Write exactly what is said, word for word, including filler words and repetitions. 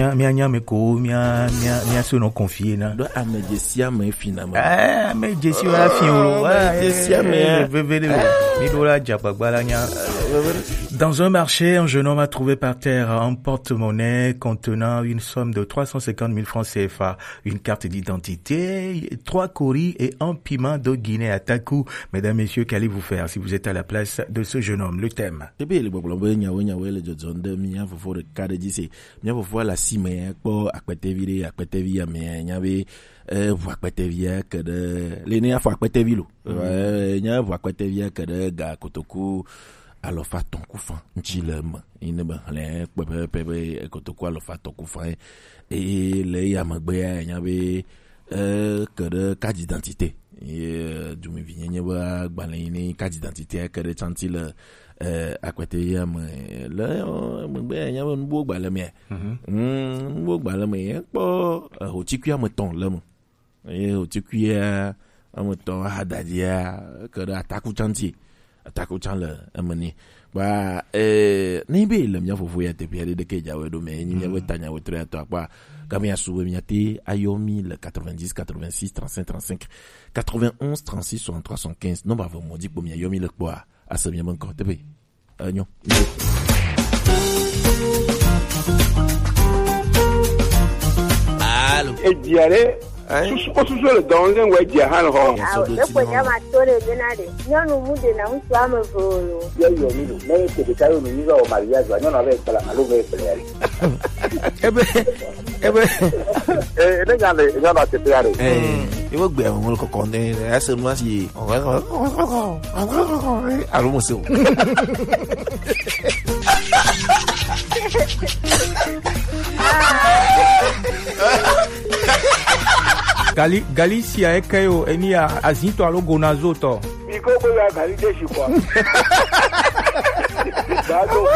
Mia, mia nya me ko, mia, mia, mia so no confier na. Do ame je si ame fi na me. Eh, ame je si wa fi o. Ame je si ame, eh, veve de. Mi do la ja gbagba la nya. Dans un marché, un jeune homme a trouvé par terre un porte-monnaie contenant une somme de trois cent cinquante mille francs C F A, une carte d'identité, trois coris et un piment de Guinée à Takou. Mesdames, messieurs, qu'allez-vous faire si vous êtes à la place de ce jeune homme ? Le thème. Ebe le gbɔgblɔ be nyawo nyawo le dzɔdzɔm ɖe mía fofo ɖeka ɖe dzi se. Mía fofo le asi me kpɔ akpetevi ɖe, akpetevi ya me nya be, eh, ʋu akpetevia ke ɖe, le ne afɔ akpetevi lo. Eh, nya ʋu akpetevia ke ɖe ga kotoku alɔfa tɔn ku fan ŋtsi le eme. Yi ne be hlẽ kpɛpɛpɛ be kotoku alɔfa tɔn ku fan ye. Eye le eya megbea, nya be, eh, ke ɖe carte d'identité. Ye dumevi nyenye be agbalẽ yi ne carte d'identité ke ɖe tsanti le, eh, akpete ya me. Le, eh, megbe nya be nubuwo gbalẽ me. Mm, nubuwo gbalẽ me. Ye kpɔ, eh, hotikui ame tɔn le me. Eye hotikui ya ame tɔn ahadadzia ke ɖe ataku tsanti. Ataku tsan le eme ni. Ba, eh, ne be le mía fofo ya teƒe aɖe ɖeke dzawe ɖo me, nyi mía be tanya wetrɔ ya tɔ akpa. Ka mía su be mía te ayɔ mi le quatre-vingt-dix, quatre-vingt-six, trente-cinq, trente-cinq, quatre-vingt-onze, trente-six, soixante-trois, soixante-quinze. Non, ba vɔ mɔ di kpo mía yɔ mi le kpɔa. Ase mía be ŋkɔ teƒe. Enyo. Alo. Edia ɖe. Hein? Susu, o susu le dɔn le ŋgɔ edia hã le xɔ. Awo, ne ko nya ma to le bena de. Nyɔnu mu de na ŋutsu ame eve o lo. Ye yɔ mi lo. Ne ye te ɖeka yɔ mi, mi va wɔ mariage wa, nyɔnu ave kpla alo ve kpla ya le. Ebe, ebe. Eh, ne nya le, nya na te ya le. Eh, ewo gbe mo ko konde, ese mo si. Alo mo se o. Gali, Gali sia eke yo, eni ya, azin to alo gonazo to. Biko bo ya gali de shi kwa. Ba to ko.